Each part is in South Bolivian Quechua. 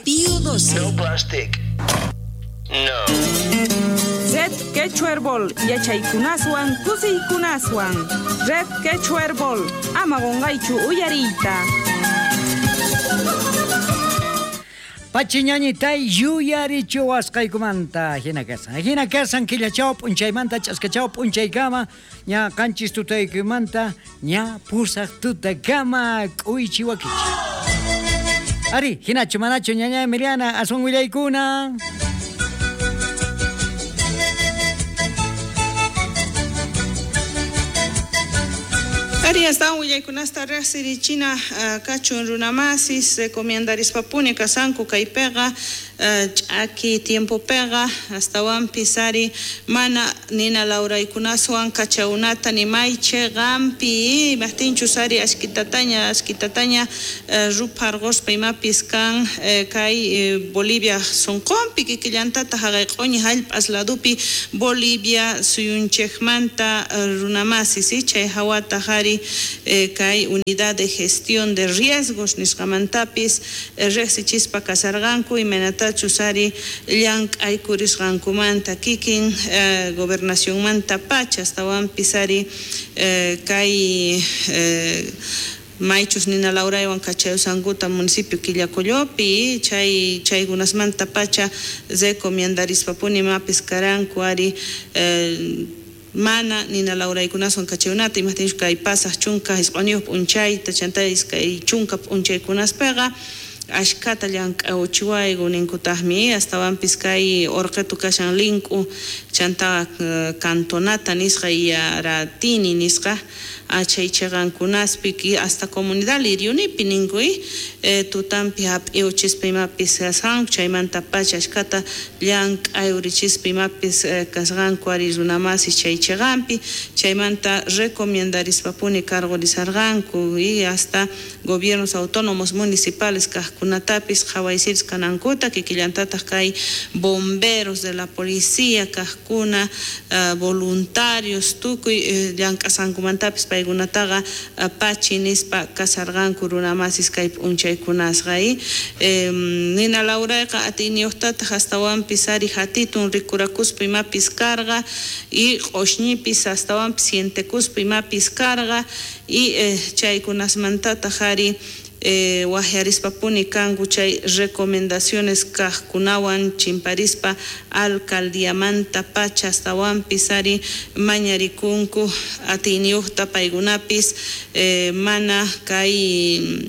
Pío 12. No plastic. No. Red Quechua Herbol, yachaykunaswan, kusiykunaswan. Red Quechua Herbol, ama qonqaychu uyariyta. Pachiñañitay yuyarichiwasqaykumanta hina kasan. Hina kasan killachaw p'unchaymanta ch'askachaw p'unchaykama ña qanchis tutaykumanta ña pusaq tutakama k'uychiwakichik. Ari, hinachu manachu ñaña Emiliana aswan willaykuna. Ari astawan willaykunasta riqsirichina kachun runamasis recomiendarispapuni kasanku kaypiqa ch'aki tiempopiqa astawanpis ari mana nina lawraykunaswan kachawnata nimaychi qampi imajtinchus ari ashkitataña ashkitataña rupharquspa imapis kan kay Bolivia sunqunpi kikillantataq haqay q'uñi hallp'as ladupi Bolivia suyunchikmanta runamasis chay hawataq ari kay unidad de gestión de riesgos nisqamantapis riqsichispa kasarqanku imaynatachus ari llank'aykurisqankumanta kikin gobernacionmanta pacha astawanpis ari kay maychus nina lawraywan kachayusankuta municipio Quillacollopi chay chaykunasmanta pacha recomiendarispapuni imapis karanku ari mana nina lawraykunaswan kachayunata imajtinchus kay pasaq chunka isq'uniyuq p'unchayta chanta iskay chunka p'unchaykunaspiqa ashkata llank'awchiwayku ninkutaqmi astawanpis kay urqitu kashan link'u chanta cantonata nisqa Yaratini nisqa chay chiqankunaspi hasta comunidad Liriunipi ninku tutanpi hap'iwchispa imapis kasqanku chaymanta pacha ashkata llank'ayurichispa imapis kasqanku ari runamasis chay chiqanpi chaymanta recomiendarispapuni cargorizarqanku y hasta gobiernos autónomos municipales kaqkunatapis qhawaysiris kanankuta kikillantataq kay bomberos de la policía kaqkuna voluntarios tukuy llank'asqankumantapis paykunataqa pachi nispa kasarqanku runamasis kay p'unchaykunasqa nina lawrayqa atiyniyuqtataq astawanpis ari hatitun rikurakuspa imapis karqa y q'ushñipis astawanpis sientekuspa imapis karqa y chaykunasmantataq ari wajyarispapuni kanku chay recomendaciones kaqkunawan chimparispa alcaldiamanta pacha astawanpis ari mañarikunku atiyniyuqta paykunapis mana kay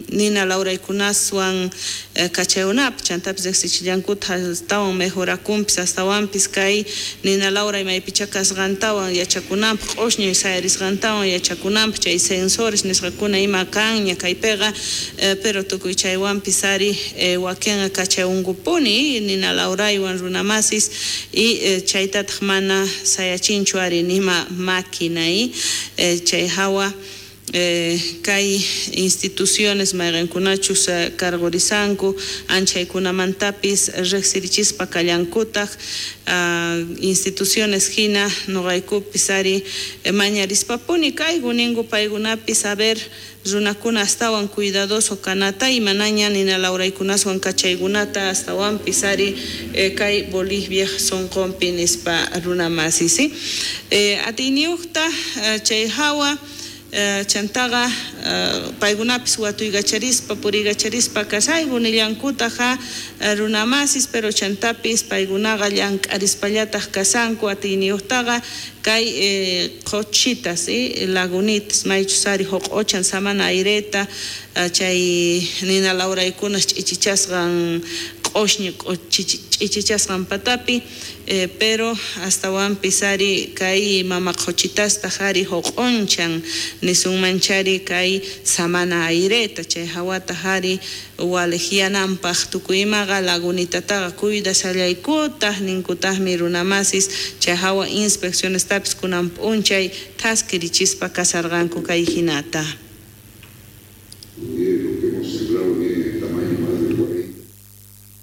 nina lawraykunaswan kachayunapi chantapis riqsichillankuta astawan mejorakunpis astawanpis kay nina lawray maypicha kasqantawan yachakunanpaq q'ushñi sayarisqantawan yachakunanpaq chay sensores nisqakuna ima kanña kaypiqa pero tukuy chaywanpis ari wakinqa kachayunkupuni nina lawraywan runamasis y chaytataq mana sayachinchu ari nima máquina chay hawa kay instituciones mayqinkunachus cargorizanku anchaykunamantapis riqsirichispa kallankutaq instituciones hina nuqaykupis ari mañarispapuni kayku ninku paykunapis a ver runakuna astawan cuidadoso kanata imanaña nina lawraykunaswan kachaykunata astawanpis ari kay Bolivia sunqunpi nispa runamasis atiyniyuqta chay hawa chantaqa paykunapis watuykacharispa puriykacharispa kasayku nillankutaqa runamasis pero chantapis paykunaqa llank'arispallataq kasanku atiyniyuqtaqa kay qhuchitas lagunitas maychus ari huq'uchan samana aireta chay nina lawraykunas ch'ichichasqan q'ushñi ch'ichichasqan patapi pero astawanpis ari kay mama qhuchitastaq ari huq'unchan nisunmanchari kay samana aireta chay hawataq ari waliqyananpaq tukuy imaqa lagunitataqa cuidasallaykutaq ninkutaqmi runamasis chay hawa inspeccionestapis kunan p'unchay thaskirichispa kasarqanku kay hinata.